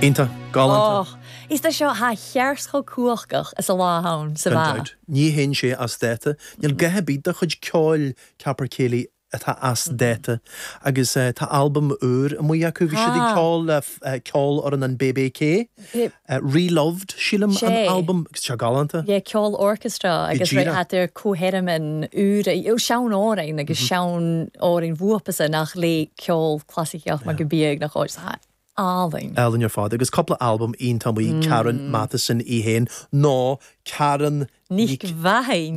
Iontach, galánta. Och, is tá seo tha cheart chomh cumhachtach is a lá ann sa Gan mheá. dabht. Ní théann sé as dáta. Níl a dhath ar bith dá chuid ceoil Capercaillie atá as dáta. Agus tá albam úr amuigh acu. Bhí siad ag ceol le ceolfhoireann an BBK. Reloved, sílim, an albam. Agus tá sé galánta. Yeah, ceol orchestra agus Go díreach. hat ar comhtheirmin úr, sean-amhráin agus sean-amhráin bhuapasa nach le ceol clasaiceach mar go bíodh nach áit. Tá álainn. Álainn ar fad. Agus cúpla albam iontach amuigh, Karen Matheson í féin, nó Karen Nic Mhathain.